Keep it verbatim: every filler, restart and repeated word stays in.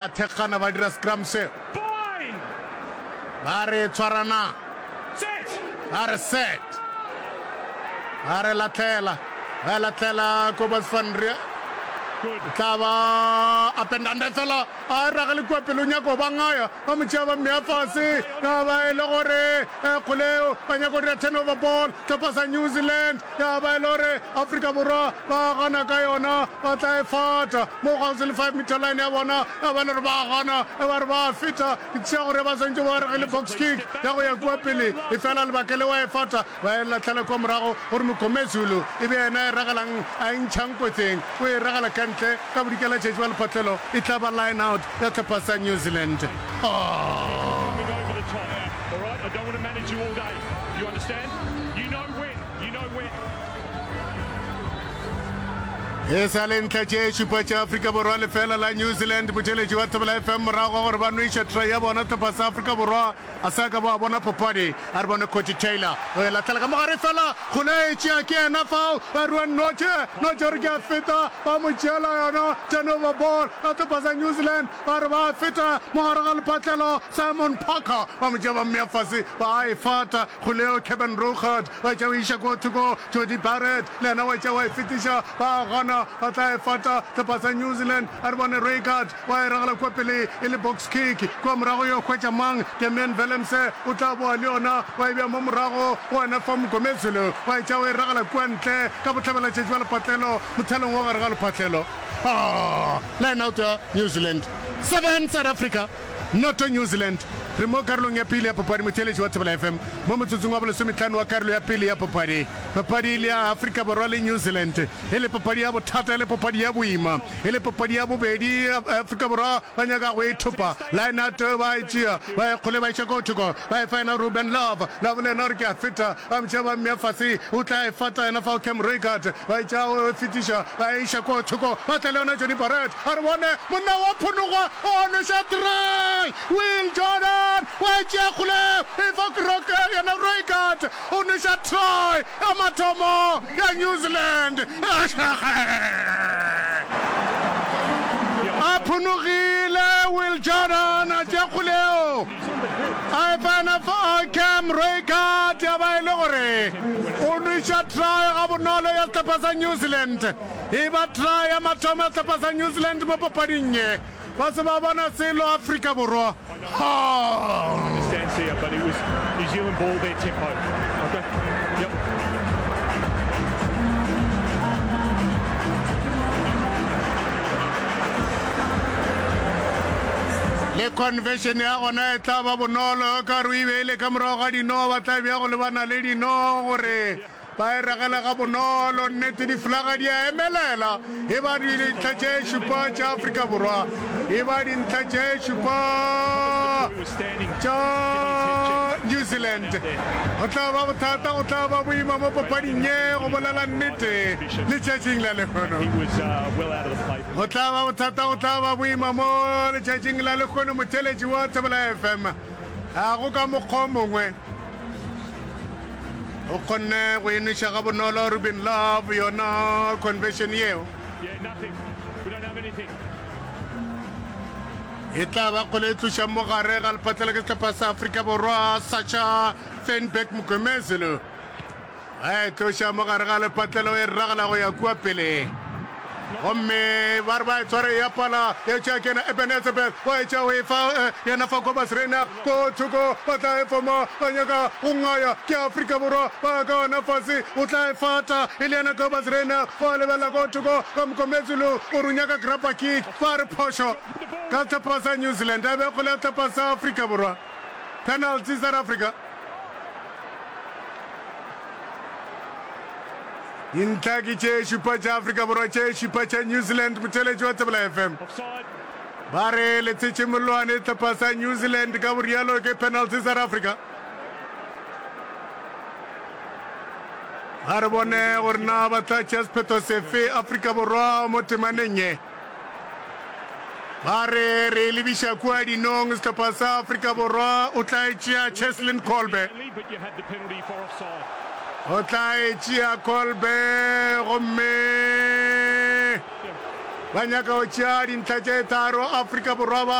Thekgana ba dira scrum seo. Ba re tshwarana. Ba re set. Ba re latlhela. Ba latlhela Kobus van Riel. Tla ba up and under fela a ragele kua pele o nyaka go ba ngaya ba mo tšea ba mmea fase ya ba e le gore eh, kgoleo ba nyaka go dira turnover ball tlhopha sa New Zealand ya ba e le gore Afrika Borwa ba gana ka yona ba tla e fata mo gausi le five meter line ya bona ya ba le gore ba gana e ba re ba feta ke tšea gore ba swantše ba regele box kick ya go ya kua pele e fela lebaka le wa e fata ba e latlhela kua morago gore Mgomezulu e be yena e ragelang a e ntšhang kotseng o e ragela ka ntle ka bodikela tšatši ba lephatlelo e tla ba line out ya tlhopha sa New Zealand. Oh. Coming over the top. All right, I don't want to manage you all day. You understand? You know when. You know when. E sa le ntlha tše šupa tša Afrika Borwa lefela la New Zealand motšheletši wa Thobela F M morago ga gore ba nweša try ya bona tlhopha sa Afrika Borwa a sa ka ba bona papadi. A re bone Cody Taylor o e latlhela ka mogare fela kgole e tšea ke yena fao ba Ruan Nortje. Nortje gore ke a feta ba mo tšeela yona turnover ball ya tlhopha sa New Zealand ba re ba feta mogare ga lephatlelo Simon Parker ba mo tšea ba mmea fase ba e fata kgole eo Kevin Roughead wa tšea o iša ko thoko Jody Barrett le yena wa tšea wa e fetiša ba gana ba tla e fata tlhopha sa New Zealand. A re bone Reigard wa e ragela kua pele e le box kick kua morago yo hwetša mang Damian Willemse o tla boa le yona wa e bea mo morago go wena fa Mgomezulu wa e tšea o e ragela kua ntle ka bohlabela tšatši ba lephatlelo mothalong wa gare ga lephatlelo. Ah, line out ya New Zealand seven South Africa noto New Zealand. Re mo karolong ya pele ya papadi motheeletši wa Thobela F M mo motsotsong wa bolesometlhano wa karolo ya pele ya papadi. Papadi le ya Afrika Borwa le New Zealand e le papadi ya bothata e le papadi ya boima e le papadi ya bobedi Afrika Borwa ba nyaka go e thopa. Line out ba e tšea ba e kgole ba iša ko thoko ba e fa yena Ruben Love. Love le yena gore ke a feta ba mo tšea ba mmea fase o tla e fata yena fao Cam Roigard ba e tšea o e fetiša ba e iša ko thoko ba tla le yona Johnny Barrett. A re bone monna wa phonogwa o nweša try Will Jordan wa e tšea kgole e fa yena Roigard o nweša try ya mathomo ya New Zealand. A phonogile Will Jordan a tšea kgoleo a e fa yena fa Cam Roigard ya ba e le gore o nweša try ga bonolo ya sehlopha sa New Zealand. E ba try ya mathomo ya sehlopha sa New Zealand mo papading ye ba se ba bona selo Afrika Borwa. Ha! Understand here, but it was New Zealand ball, their tempo. Okay. Yep. Le conversion ya gona e tla ba bonolo ka re o e beile ka morago ga dino ba tla bja go lebana le dino gore ba e ragela ga bonolo. Nnete diflaga di a emelela e ba dintlha tše šupa tša Afrika Borwa e ba dintlha tše šupa tša New Zealand. Go tla ba bothata go tla ba boima mo papading ye go bolela nnete letšatšing la lehono. Go tla ba bothata go tla ba boima mo letšatšing la lehono motheeletši wa Thobela F M ga go ka mokgwa o mongwe. O kgonne go e nweša ga bonolo Ruben Love yona conversion yeo. E tla ba kgole e tloša mo gare ga lephatlelo ke sehlopha sa Afrika Borwa Sacha Feinberg Mgomezulu. A e tloša mo gare ga lephatlelo e ragela go ya kua pele. Gomme ba re ba e tshware ya pala ya tšea ke yena Eben Etzebeth wa e tšea o e fa yena fa Cobus Reinach ko thoko ba tla e foma ba nyaka go ngaya ke Afrika Borwa ba ka ona fase o tla e fata e le yena Cobus Reinach wa lebelela ko thoko ka Mgomezulu o re o nyaka grappa kick ba re phošo ka sehlopha sa New Zealand a be kgole ya sehlopha sa Afrika Borwa penalty South Africa. Dintlha ke tše šupa tša Afrika Borwa, tše šupa tša New Zealand. Motheeletši wa Thobela F M ba re le tshetše mollwane sehlopha sa New Zealand ka borialo ke penalty South Africa. A re bone gore na ba tla tšea sephetho sefe Afrika Borwa mo temaneng ye. Ba re re e lebiša kua dinong sehlopha sa Afrika Borwa o tla e tšea Cheslin Kolbe. O tla e tšea Kolbe gomme Ba nyaka go tšea dintlha tše tharo Afrika Borwa ba.